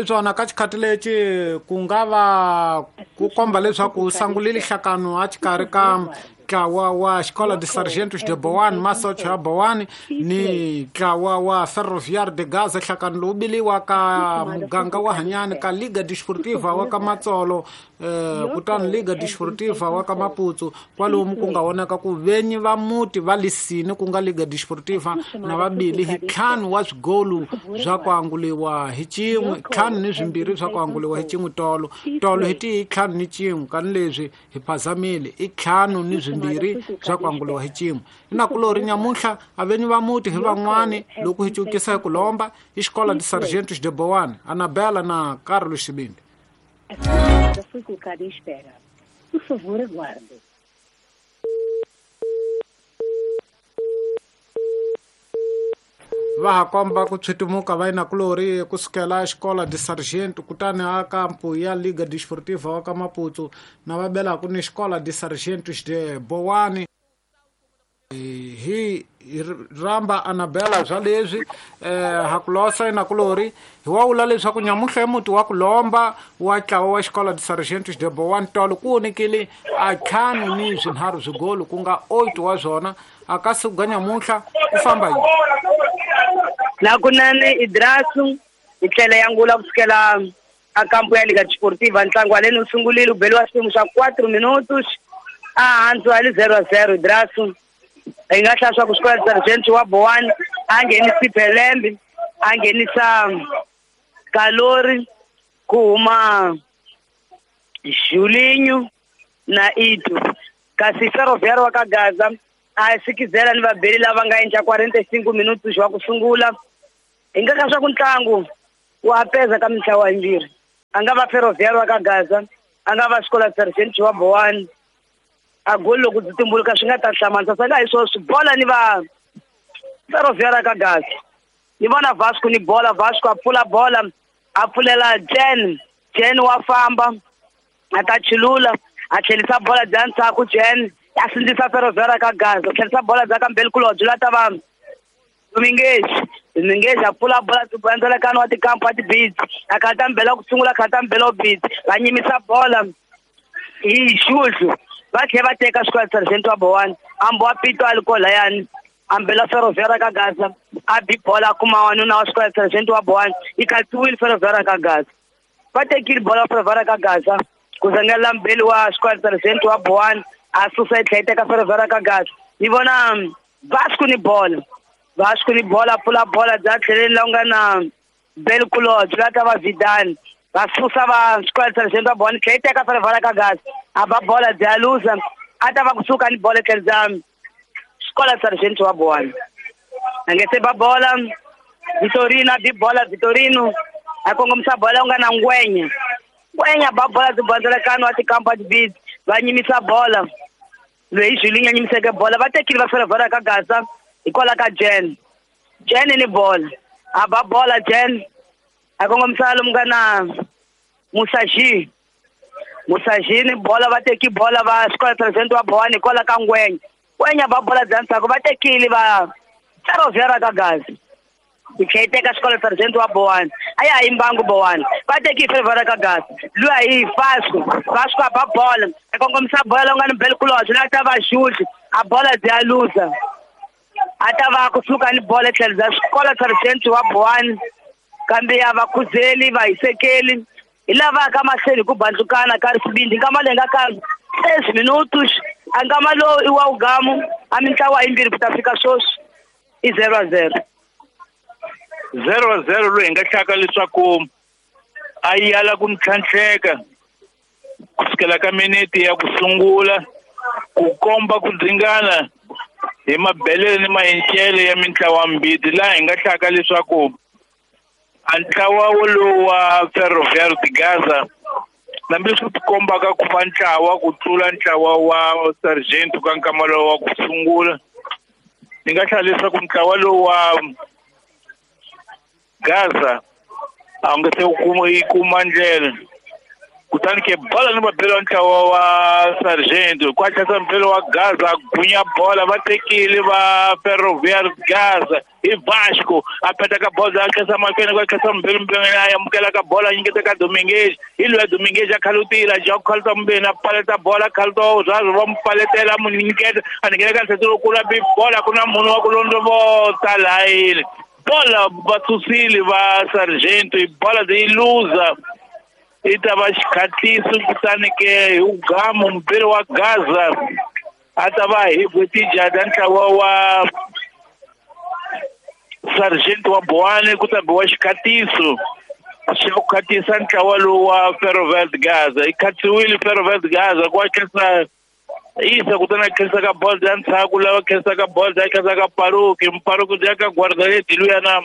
swona ka xikhati lexi ku nga va ku komba leswaku u sangulile nhlakano a xikarhi ka ntlawa wa Escola de Sargentos de Boane, Masocho ya Boane, ni ntlawa wa Ferroviário de Gaza, nhlakano lowu biliwa ka muganga wa Hanyani ka Liga Desportiva wa ka Matsolo, kutani Liga Desportiva wa ka Maputsu, kwalomu ku nga vonaka ku venyi va muti va lisini ku nga Liga Desportiva na vabili hi 5 wa swigolu swa ku anguliwa hi xin'we, 5 ni swimbirhi swa ku anguliwa hi xin'we tolo tolo hi ti 5 ni xin'we, kani leswi hi phazamile i 5 ni swimbirhi swa ku anguliwa hi xin'we. Inakulori nyamuntlha avenyi va muti hi van'wani loko hi cukisa hi ku lomba i Escola de Sargentos de Boane, Anabela na Carlos Sibindi. A chamada foi colocada em espera. Por favor, aguarde. Va ha komba ku tshwitumuka va inakulori kusukela Escola de Sargento kutani a kampu ya Liga Desportiva wa ka Maputsu na va belaku ni Escola de Sargentos de Boane. Hi ramba Anabela swa leswi ha ku losa inakulori hi wa vula leswaku nyamuntlha muti wa ku lomba wa ntlawa wa Escola de Sargentos de Boane tolo ku vonekile a 5 ni swinharhu swigolo ku nga 8 wa swona a ka siku ga nyamuntlha ku famba yini. Nakunene Idrasu hi tlhela ya ngula kusukela a kampu ya Liga Desportiva ntlangu wa leni wu sungulile u beliwa xiphemu xa 4 minutos a hansi wa li 0-0 Idrasu. Hi nga hlaya swa ku Escola de Sargento wa Boane a nghenisi Pelembe, a nghenisa Kalori, ku huma Julinho na Ito. Kasi Ferroviário wa ka Gaza a sikizela ni vabeli lava nga endla 45 minutos wa ku sungula. Hi nga ka swa ku ntlangu wa peza ka mintlawa yimbirhi. A nga va Ferroviário wa ka Gaza, a nga va Escola de Sargento wa Boane. A goli loko byi tumbuluka swi nga ta hlamarisa swa nga hi swona bola ni va Ferroviário ka Gaza. Ni vona Vasco ni bola, Vasco a pfula bola, a pfulela Jen, Jen wa famba, a ta chilula, a tlhelisa bola bya ndzhaku Jen, a sindzisa Ferroviário ka Gaza, tlhelisa bola bya ka Mbelkulobye la ta va Dominguez, Dominguez a pfula bola ndzalakano wa tikampu wa tibidzi, a khata mbela ku sungula, khata mbela bidzi, va nyimisa bola hi xuhlu. Va tlhela va teka Escola de Sargento wa Boane, ambo wa Pito a li kolayani, ambela Ferroviário ka Gaza, a bi bola kuma wanuna wa Escola de Sargento wa Boane, yi khatsiwile Ferroviário ka Gaza. Va tekile bola Ferroviário ka Gaza, ku zangela mbeli wa Escola de Sargento wa Boane, a susa yi tlhela yi teka Ferroviário ka Gaza. Ni vona Vasco ni bola, Vasco ni bola, pfula bola bya tlheleni la ku nga na Belkulobye la ta va Vidal. Va susa va Escola de Sargento wa Boane, tlhela yi teka Ferroviário ka Gaza, a ba bola bya luza, a ta va kusuka ni bola tlhelo bya Escola de Sargento wa Boane. A nge se ba bola Vitorino, a bi bola Vitorino, a kongomisa bola ku nga na Ngwenya. Ngwenya ba bola byi bandzelakano wa tikampa tibidzi, va nyimisa bola. Loyi Julinho a nyimiseke bola, va tekile va Ferroviário ka Gaza hikwalaho ka Jen. Jen ni bola, a ba bola Jen, a kongomisa lomu nga na Musaji. Musaji ni bola, va teki bola va Escola de Sargento wa Boane hikwalaho ka Ngwenya. Ngwenya ba bola bya ndzhaku, va tekile va Ferroviário ka Gaza. Yi tlhela yi teka Escola de Sargento wa Boane, a ya ha yimbangi Boane, va teki Ferroviário ka Gaza. Luya hi Vasco, Vasco a ba bola, a kongomisa bola la ku nga ni Belkulobye la ta va Jules, a bola bya luza. A ta va kusuka ni bola tlhelo bya Escola de Sargento wa Boane, kambe ya va khuzeli va hisekeli hi lava ka mahlweni ku bandlukana ka risibindi. Nkama leyi nga ka 6 minutos, a nkama lowu i wa wugamu a mintlawa yimbirhi ku ta fika sweswi i 0-0. 0-0 loyi hi nga hlaka leswaku a yala ku ntlhantlheka kusukela ka minete ya ku sungula ku komba ku dzingana hi mabelele ni mahencele ya mintlawa mbirhi, laha hi nga hlaka leswaku a ntlawa wolowo wa Ferroviário de Gaza hambileswi ti kombaka ku va ntlawa ku tlula ntlawa wa Sargento ka nkama lowu wa ku sungula, ni nga hlaya leswaku ntlawa lowu wa Gaza a wu nge se yi kuma ndlela. Kutani ke bola ni vabeli wa ntlawa wa Sargento ku hatlisa mubeli wa Gaza gunya bola va tekile va Ferroviário Gaza hi Vasco a peta ka bola a khensa mahlweni ku khensa mubeli mubeli a amukela ka bola a nyiketa ka Dominguez hi luya Dominguez a khalutile a ja ku khaluta mubeni a paleta bola a khaluta zwazo va mu paletela a mu nyiketa a nyikela ka ntlhelo lowukulu a bi bola ku na munhu wa ku londzovota layini bola va susile va Sargento bola yi luza i ta va xikhatliso kutani ke hi ugamu mubeli wa Gaza a ta va hi bwetijada ntlawa wa Sargento wa Boane ku ta biwa xikhatiso xa ku khatisa ntlawa lowu wa Ferroviário Gaza yi khatsiwile Ferroviário Gaza ku khensa isa kutani a khensa ka bola ya ndzhaku lava khensaka bola ya khensa ka Paruki Mparuki ya ka guardaredi luya na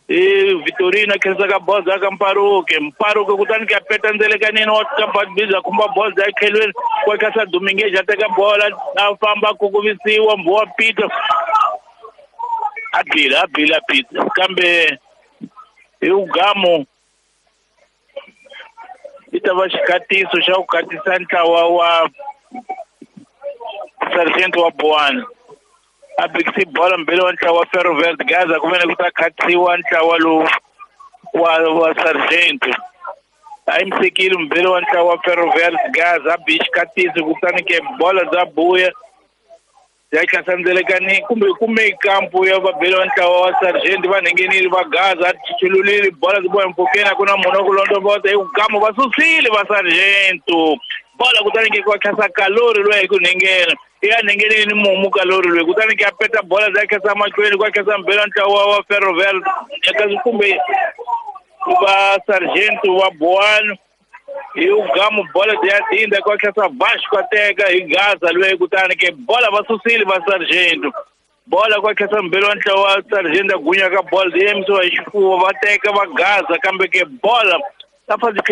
i Vitorino a khensa ka bola ya ka Mparuki Mparuki kutani ke a peta ndzelekanini wa ka khumba bola ya khelweni ku khensa Dominguez a teka bola a famba a kukuvisiwa mbhuwa Peter a bila Peter kambe hi ugamu i ta va xikhatiso xa ku khatisa ntlawa wa Sargento wa Boane a bikisi bola mbili wa ntlawa wa Ferroviário Gaza ku vene ku ta khatsiwa ntlawa lowu wa Sargento a yimisekile mbili wa ntlawa wa Ferroviário Gaza a bi xikhatiso kutani ke bola bya buya ya hlasandzelekanini kumbe kume kampu ya vabeli wa ntlawa wa Sargento va nghenile va Gaza a chululile bola byi boha mpfhukeni a ku na munhu wa ku londzovota hi gamu va susile va Sargento bola kutani ke ku tlhasa Kalori loyi hi ku nghengena ya nghenile ni mumu Kalori loyi kutani ke a peta bola bya khensa mahlweni ku khensa mbeli wa ntlawa wa Ferroviário kumbe va Sargento wa Boane hi ugamu bola ya dinda ku khensa Vasco a teka hi Gaza loyi kutani ke bola va susile va Sargento bola ku khensa mbeli wa ntlawa wa Sargento a gunya ka bola yi yimisiwa hi xifuwo va teka va Gaza kambe ke bola ta